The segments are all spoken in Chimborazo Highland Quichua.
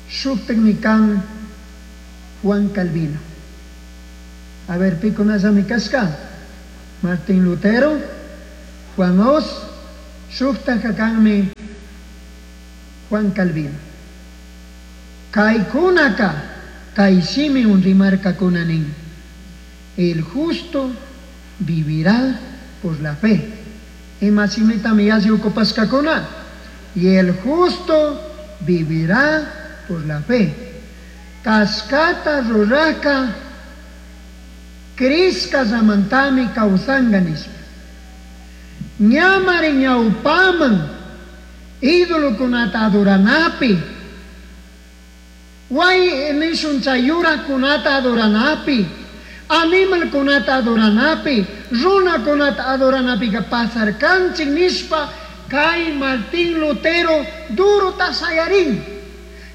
Shuktakmi kan Juan Calvino. A ver, pikunallami kashka? Martín Lutero, Juan Hus, shuktajka kanmi Juan Calvino. Kaykunaka kay shimiwan rimarkakuna nin: "El justo vivirá por la fe". Ima shimitami yalli ocupashkakuna? "Y el justo vivirá por la fe". Kashkata rurajka crishkallamantami kawsanka nishpa. Ñamari ñawpaman ídolokunata adoranapi, way nishun chay yurakunata adoranapi, animalkunata adoranapi, runakunata adoranapika pasarkanchik nishpa kay Martín Lutero durota shayarin,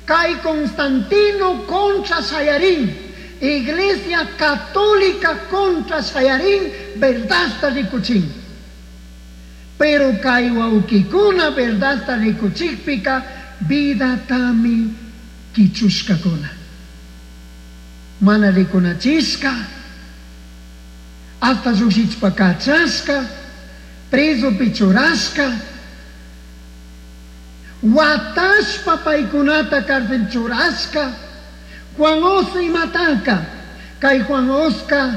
kay Constantino contra shayarin, Iglesia Católica contra shayarin, verdadta rikuchin. Pero kay wawkikuna verdadta rikuchikpika vidatami kichushkakuna. Mana rikunachishka, hasta llukshichpa kachashka, presopi churashka, watashpa paykunata cárcel churashka. Juan Hus imataka, kay Juan Huska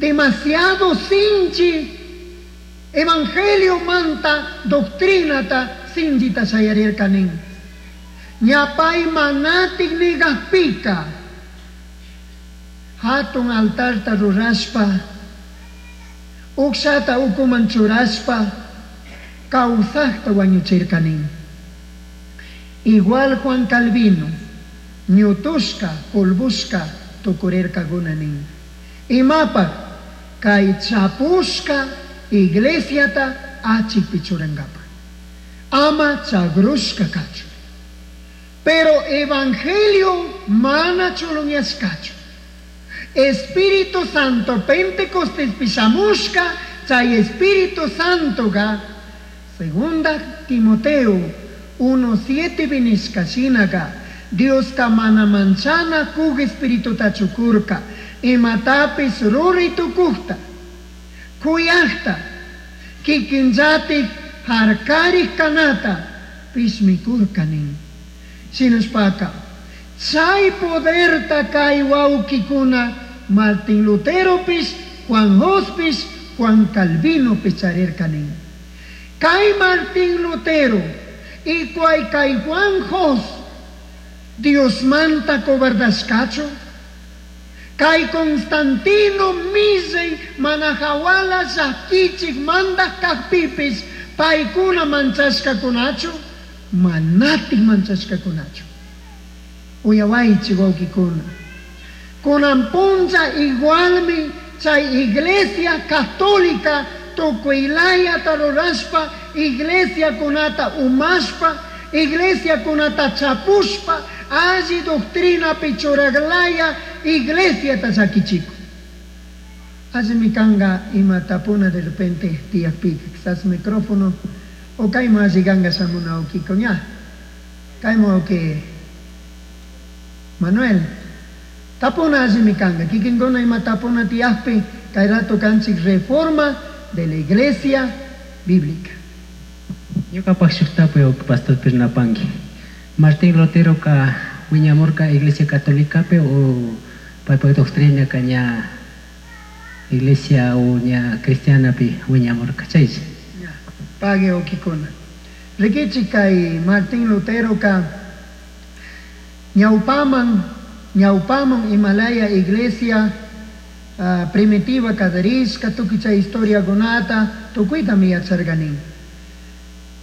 demasiado sinchi evangelio manta doctrinata sinchita shayarirka nin. Ña pay manatik nigajpika hatun altarta rurashpa, ukshata ukuman churashpa, kawsajta wañuchirka nin. Igual Juan Calvino, ñutushka, polvushka tukurirkakuna nin. Imapaj kay chapushka iglesiata achikpi churankapaj. Ama chagrushka kachun. Pero evangelio mana chulunyashkachu. Espíritu Santo Pentecostés shamushka, chay Espíritu Santoga, segunda Timoteo 1:7 vinishka shinaga, Dioska mana manchana kuj espirituta chukurka, imatapis ruri tukujta, kuyajta, kikinllatik harkarij kanata, pishmikurka nin. Shinashpaka, chay poderta kay wawkikuna Martín Luteropish, Juan Huspish, Juan Calvinopish charirka nin. Kay Martín Lutero y kay Juan Hus, Dios manta cobardashkachu. Kay Constantino millay mana hawala llakichik mandaj kajpipis paykuna manchashkakunachu, manatik manchashkakunachu. Uyawaychik wawkikuna. Kunan punlla igualmi chay Iglesia Católica tukuylayata rurashpa, iglesia kunata umashpa, iglesia kunata chapushpa, alli doctrina pichuraglaya iglesia llakichikun. Allimi kanga ima tapuna de repente tiyakpika, quizás micrófono o kayman alli kanga shamuna wawkiko ña. Kayman wawki Manuel. Tapuna allimi kanga, kikinkuna ima tapuna tiyakpi, kay rato kanchik reforma de la iglesia bíblica. Ñukapak shuk tapuy pastor Pirnapanqui. Martín Lutero ka wiñamurka Iglesia Católica pe o paypak doctrina ka ña iglesia o ña cristiana pi wiñamurka chaycha. Ña, pague wawkikuna. Rikichik kay Martín Lutero ka ñawpaman, ñawpaman Himalaya iglesia primitiva kallarishka, tukuy chay historiakunata tukuytami yacharkanin.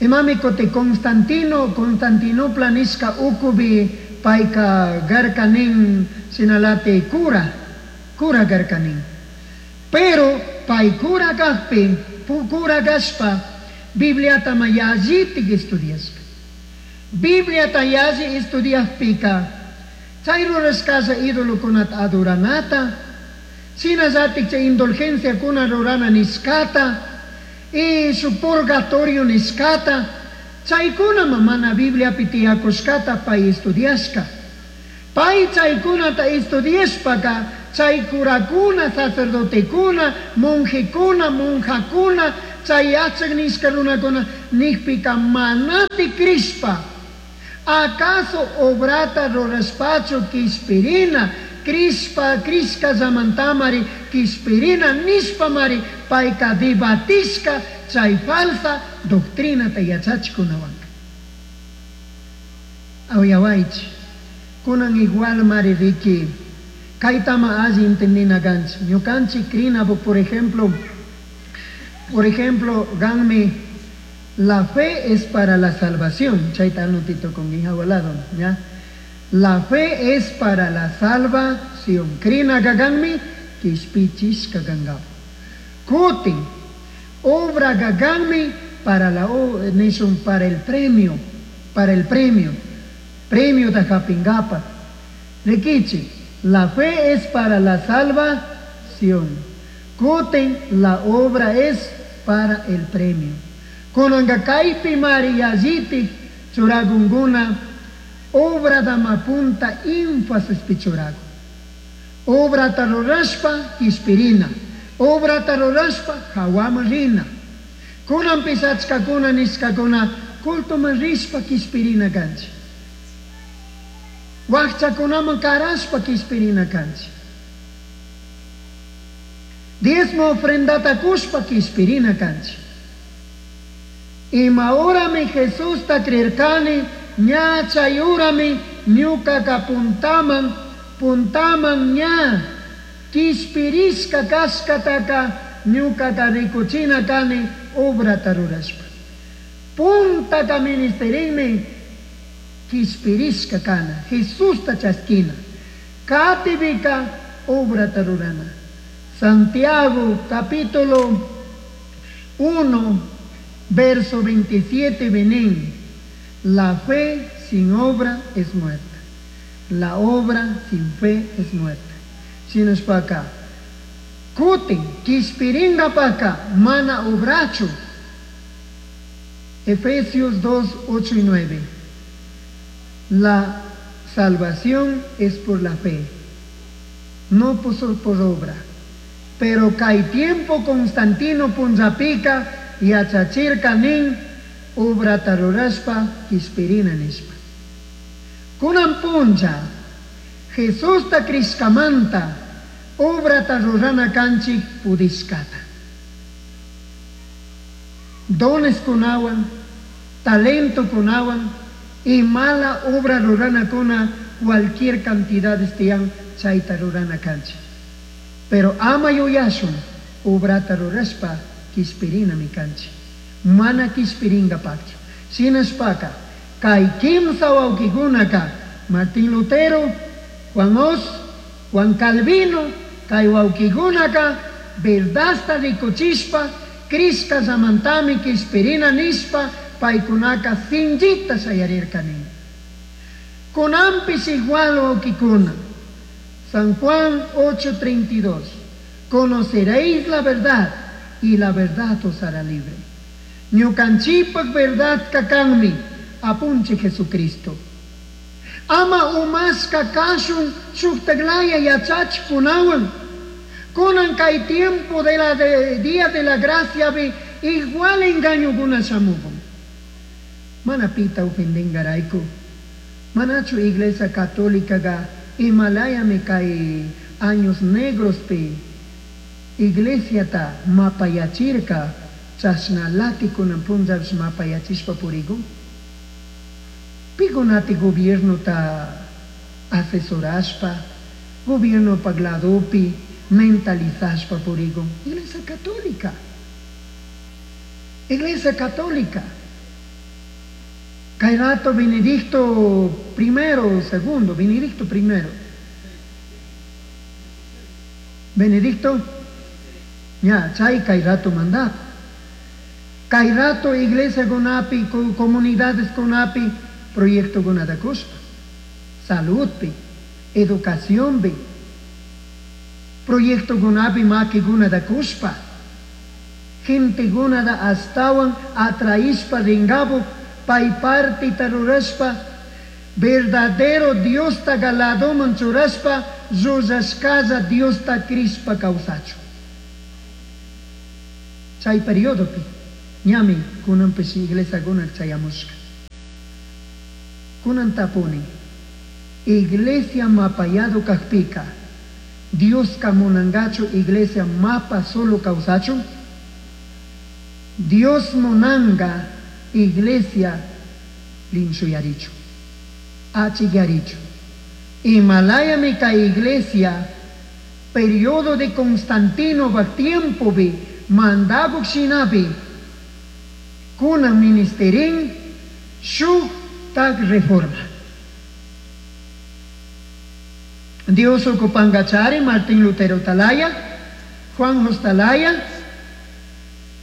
Imami kuti Constantino, Constantinopla nishka ukubi payka garkanin sinalati cura, cura garkanin. Pero pay cura kajpi, cura kashpa, Bibliata ma yallitik estudiashka. Bibliata yalli estudiajpika, chay rurashkalla idolokunata adoranata, shinallatik chay indulgenciakuna rurana nishkata, y su purgatorio nishkata, Chaykunama mana Bibliapi tiyakushkata pay estudiashka. Pay chaykunata estudiashpaka chay curakuna, sacerdotekuna, monjekuna, monjakuna, chay yachak nishka runakuna nijpika manati crishpa. Acaso obrata rurashpachu kishpirina, crishpa, crishkallamantamari kishpirina nishpamari payka debatishka chay falsa doctrinata yachachikunawanka. Uyawaychi, kunan igual mari riki, kaytama alli entendina kanchik. Ñukanchik crina, por ejemplo, ganmi la fe es para la salvación. Chayta anotito con lado, ¿ya? La fe es para la salvación. Crina ganmi kishpichishka kangapak. Kutin, obra gaganmi para la nishun para el premio, para el premio. Premio de hapingapa. Rikichi, la fe es para la salvación. Kutin, la obra es para el premio. Kunanga kaypi mari yallitik churagunguna obra dama punta énfasis pichuragun. Obrata rurashpa kishpirina. Obrata rurashpa hawaman rina. Kunanpish achkakuna nishkakuna cultoman rishpa kishpirina kanchik. Wakchakunaman karashpa kishpirina kanchik. Diezmo ofrendata kushpa kishpirina kanchik. Ima horami Jesusta creerkani, ña chay horami ñukaka puntaman, puntaman ña kishpirishka kashkataka ñukaka rikuchina kani obrata rurashpa. Puntaka ministerinmi kishpirishka kana, Jesusta chaskina. Katipika obrata rurana. Santiago capítulo 1, verso 27 venín. La fe sin obra es muerta. La obra sin fe es muerta. Shinashpaka. Kutin, kishpiringapaka, mana obrachu. Efesios 2, 8 y 9. La salvación es por la fe, no por obra. Pero kay tiempo Constantino punllapika yachachirka nin obrata rurashpa kishpirina nishpa. Kunan punlla Jesusta crishkamanta obrata rurana kanchik pudishkata. Dones kunawan, talento kunawan y mala obra rurana kuna cualquier cantidad tiyan chayta rurana kanchik. Pero ama yuyashun obrata rurashpa kishpirina mi kanchik. Mana kishpiringapakchu. Shinashpaka kay kimsa wawkikunaka Martín Lutero, Juan Hus, Juan Calvino, kay wawkikunaka verdadta rikuchishpa crishkallamantami kishpirina nishpa paykunaka sinchita shayarirka nin. Kunanpish igual wawkikuna. San Juan 8:32. Conoceréis la verdad y la verdad os hará libre. Ñukanchikpak verdad kanmi apunchik Jesucristo. Ama umashka kashun shuktaklaya yachachikunawan. Kunan kay tiempo de la día de la gracia bi igual engañokuna shamukun. Mana pita ofendengarayku. Manachu iglesia católica ga imalayami kay años negros pi iglesiata mapayachirka chashnalati kunan punllapish mapayachishpa purikun. Pikunati gobiernota asesorashpa, gobierno ladopi mentalizashpa purikun. Iglesia católica. Iglesia católica. Kay rato Benedicto primero, segundo, Benedicto primero. Benedicto, ya, chay kay rato mandato. Kay rato iglesia kunapi, comunidades kunapi, proyecto kunata kushpa. Salud pi, educación pi, proyecto kunapi maki kunata kushpa. Gente kunata astawan atraishpa ringapu. pay partita rurashpa, verdadero Diosta ladoman churashpa, llullashcalla Diosta crishpa kawsachun. Chay periodopi ñami kunanpish iglesiakuna chayamushka. Kunan tapuni, iglesia mapayado kakpika, Dioska munangachu iglesia mapa solo kawsachun? Dios munanga iglesia linchuyarichu, achiyarichu. Imalayami kay iglesia periodo de Constantino baj tiempopi mandaguk shinapi kunan ministerin shuk tak reforma. Dios ocupangachari Martín Lutero talaya, Juan Hostalaya,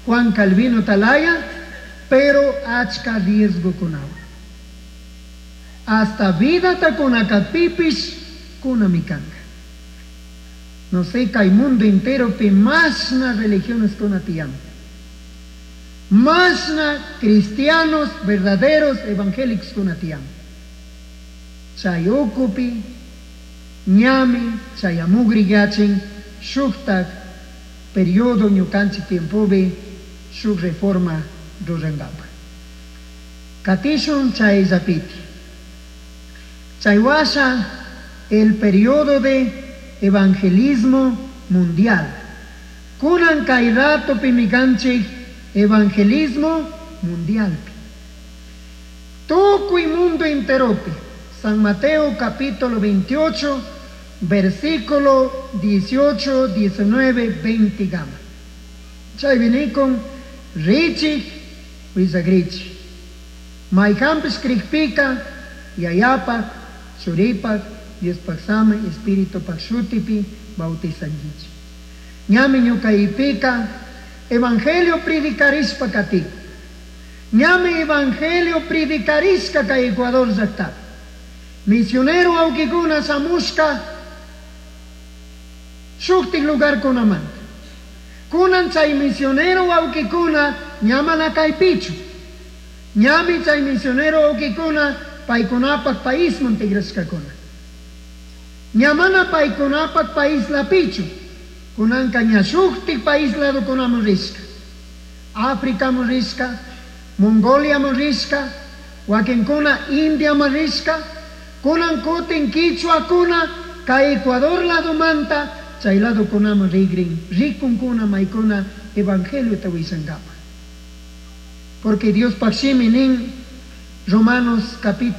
Juan Calvino talaya, pero achka riesgo kunawan. Hasta vida takunakapipis kunamikanga. No sé, kay mundo entero pi masna religiones kunatiyan. Masna cristianos verdaderos evangélicos kunatiyan. Chay ukupi, ñami, chayamugri yachin, shuktak periodo ñukanchik tiempopi shuk reforma rurangapa. Katishun chay llapiti. Chay washa el periodo de evangelismo mundial. Kunan kay ratopi mikanchik evangelismo mundialpi. Tukuy mundo enteropi. San Mateo capítulo 28, versículo 18, 19, 20 gama. Chay vinikun richik willagrichik. Mayhanpish krikpika Yayapak, Churipak, Diospak sami, Espiritupak shutipi bautizankichik. Ñami ñukaipika evangelio predicarishpa katik. Ñami evangelio predicarishka kay Ecuador llaktapi. Misionero awkikuna shamushka shuktik lugarkunamanta. Kunan chay misionero awkikuna ñamana kaypichu. Ñami chay misionero awkikuna paykunapak paisman tigrashkakuna. Ñamana paykunapak país lapichu. Kunanka ña shuktik país ladokunaman rishka. Áfricaman rishka, Mongoliaman rishka, wakinkuna Indiaman rishka, kunan kutin kichwakuna kay Ecuador ladomanta chay ladokunaman rigrin, rikunkuna maykuna evangeliota willankapa. Porque Dios shimi nin Romanos capítulo